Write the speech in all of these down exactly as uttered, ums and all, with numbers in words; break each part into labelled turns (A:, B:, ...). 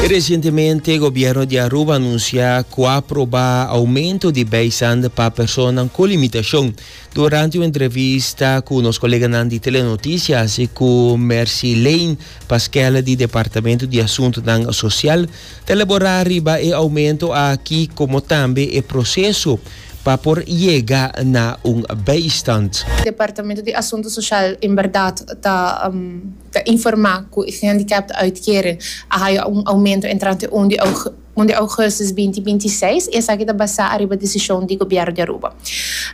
A: Recientemente, gobierno di Aruba a anuncia cu a aproba aumento di bijstand pa persona cu limitacion. Durante un entrevista cu nos colega di Telenoticias y cu Mercy Lane Pasquale di Departamento di Asunto Social, ta elabora riba e aumento aki como tambe e proceso pa por yega na un bijstand.
B: Departamento di Asunto Social en berdad ta um, ta informa cu e gehandicapten uitkering a un aumento entrante un di un di augustus dos mil bintiseis y esaki ta basa riba decision di gobierno di Aruba.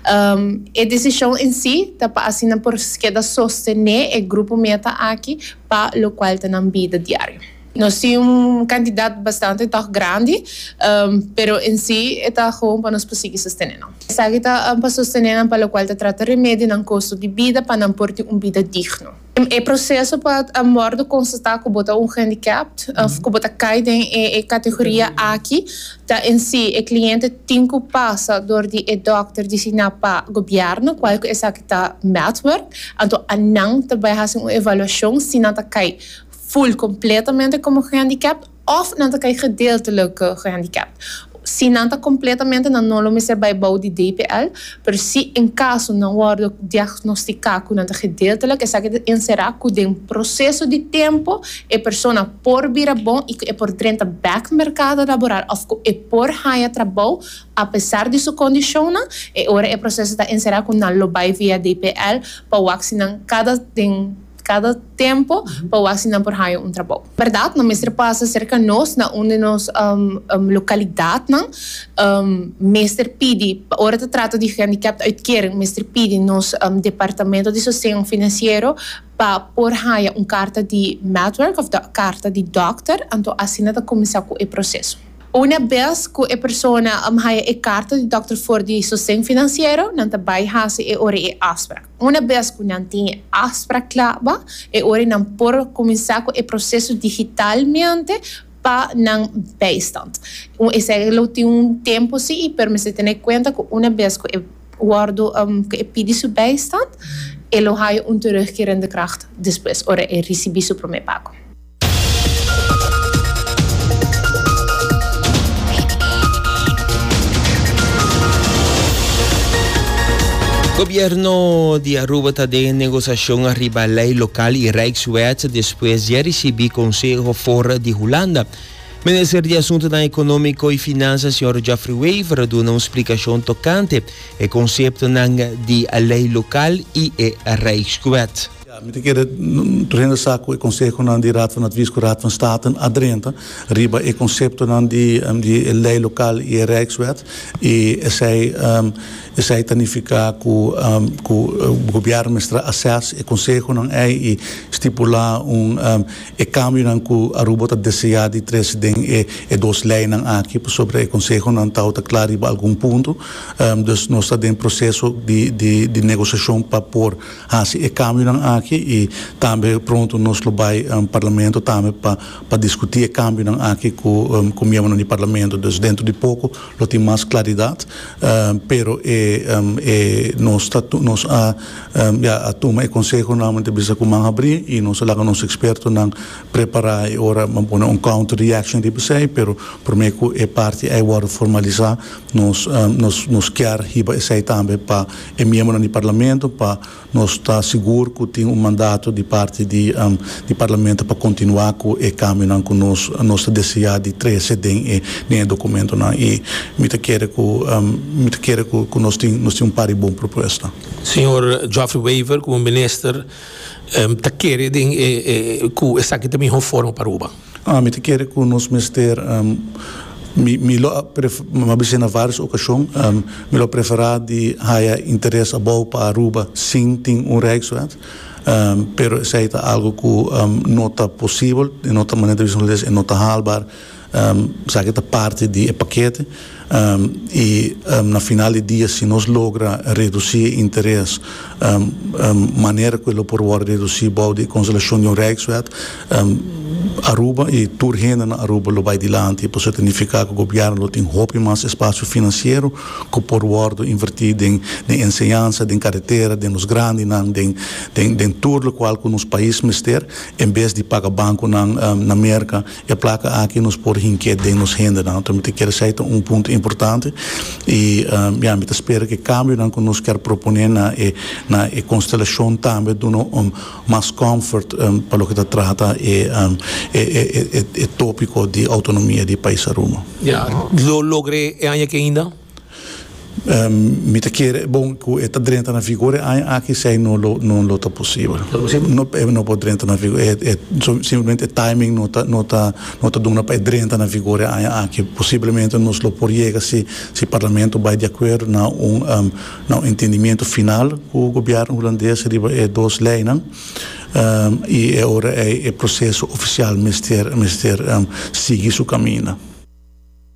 B: Um, e decision en si ta pa asina por keda sostene e grupo meta aki pa locual ta na bida diario. Nos tin un cantidad bastante toch grandi, um, pero en si ta gewoon pa nos por sostene. Esaki ta um, pa sostene pa locual ta trata remedi na costo di bida pa nan por tin un bida digno. E proceso pa wordo constata cu bo ta un handicapped, of cu bo ta cay den e, e categoria aki, ta en si e cliente tin cu pasa door di e dokter designa pa gobierno, cual esaki ta Maatwerk, anto nan ta bay haci un evaluacion si nan ta cay full completamente como gehandicapt of nan ta cay gedeeltelijk gehandicapt. Si nan ta completamente, nan no lo mester bay bou di D P L, pero si en caso nan wordo diagnostica cu nan ta gedeeltelijk, esaki ta encera cu den proceso di tempo e persona por bira bon y e por drenta back mercado laboral of e por haya trabou apesar di su condicion, e ora e proceso ta encera cu nan lo bay via D P L pa wak si nan cada den cada tempo pa asina por haya un trabou. Berdad, nan mester pasa cerca nos na unda nos um, um, localidad nan, um, mester pidi, ora ta trata di gehandicapt uitkering, mester pidi nos um, departamento di sosten financiero pa por haya un carta di Maatwerk of da carta di dokter, anto asina ta cuminsa cu e proceso. Unabes cu e persona um, haya e carta di dokter for di sosten financiero, nan ta bay hasi e ora e afspraak. Unabes cu nan tin e afspraak cla, e ora nan por cuminsa cu e proceso digitalmente pa nan bijstand. Esey lo tin un tempo si, pero mester tene cuenta cu unabes cu e wordo um, cu e pidi su bijstand, e lo haya un terugkerende kracht despues, ora e ricibi su prome pago.
A: Gobierno di Aruba ta den negociacion riba ley local y Rijkswet despues di ricibi conseho for di Hulanda. Minister di Asunto Economico y Finansa, señor Geoffrey Wever, a duna un splicacion tocante e concepto di ley local y e Rijkswet.
C: Ja, mi ta kere tur hende sa cu e conseho nan di Raad van Advies cu Raad van State a drenta riba e concepto nan di um, di ley local y Rijkswet y esey um, esey ta significa cu um, cu uh, gobierno mester assess e conseho nan ey y stipula un um, e cambio nan cu Aruba ta desea di trece den e, e dos ley nan aki sobre e conseho nan ta ta cla riba algun punto um, dus nos ta den proceso di di di negociacion pa por hasi e cambio nan aki y tambe pronto nos lo bay um, parlamento tambe pa pa discuti e cambio nan aki cu um, cu miembro di parlamento. Dus dentro di poco lo tin mas claridad um, pero e, um, e nos ta nos a um, ja, a tuma e conseho nan ta bisa cu man habri y nos laga nos experto nan prepara y ora man pone un counter reaction di esey, pero prome cu e parti ey wordo formalisa, nos um, nos nos kier hiba esey tambe pa e miembro di parlamento pa nos ta sigur cu tin un mandato di parti di um, di parlamento pa continua cu e cambio nan cu nos nos desea di trece den e den documento nan y mi ta kere cu um, mi ta kere cu, cu nos tin nos tin un par di bon propuesta.
D: Señor Geoffrey Wever, como minister, um, ta kere den eh, eh, cu esaki ta e miho forma pa Aruba?
C: Ah, mi ta kere cu nos mester um, mi mi lo mi a na varios ocasion um, mi lo prefera di haya interes abou pa Aruba sin tin un Rijkswet um, pero esey ta algo cu um, no ta posibel, no ta manera di no ta haalbaar um, esaki ta parti di e pakete um, y um, na final di dia, si nos logra reduci interes um, um, manera cu e por reduci bou di constelacion di un Rijkswet um, Aruba y tur hende na Aruba lo bay dilanti, pasobra ta significa cu gobierno lo tin hopi mas espacio financiero cu por wordo inverti den, den enseñansa, den caretera, den nos grandinan, den den den tur locual cu nos pais mester, en bes di paga banconan, na Merca. E placa aki nos por hinca den nos hendenan. Anto mi kier esey ta un punto importante y um, ja, mi ta spera cu e cambionan cu nos kier propone na e na e constelacion tambe duna un mas comfort um, pa loke ta trata e, um, e, e, e, e topico di autonomia di pais Aruba.
D: Ja, lo logra e aña aki ainda?
C: Um, mi ta kere, bon, cu e ta drenta na vigor aki, esey no lo no lo ta posibel. No no por drenta na vigor, e, e simplemente timing no ta no ta no ta duna pa drenta na vigor aki. Posiblemente nos lo por yega si si parlamento bay di acuerdo na un um, na un entendimento final cu gobierno Hulandes riba e dos leynan um, y awor e, e proceso oficial mester mester um, sigui su caminda.